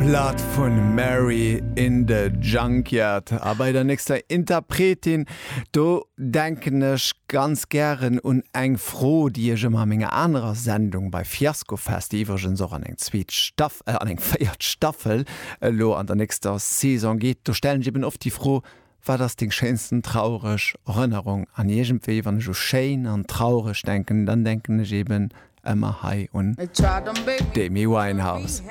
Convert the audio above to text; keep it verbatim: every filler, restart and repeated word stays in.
Blood vun Mary in the Junkyard. A bei der nächster Interpretin do denken ech ganz gären un eng Fro, déi ech ëmmer a menger anerer Sendung bei Fiaskofest, déi iwwregens och an eng zweet Staff äh, an eng véiert Staffel elo an der nächster Saison geet. Do stellen ech eben oft déi Fro, wat ass deng schéinsten traureg Erënnerung? An iergendwéi, wann ech u schéin an traureg denken, dann denken ech eben ëmmer hei un d'Amy Winehouse.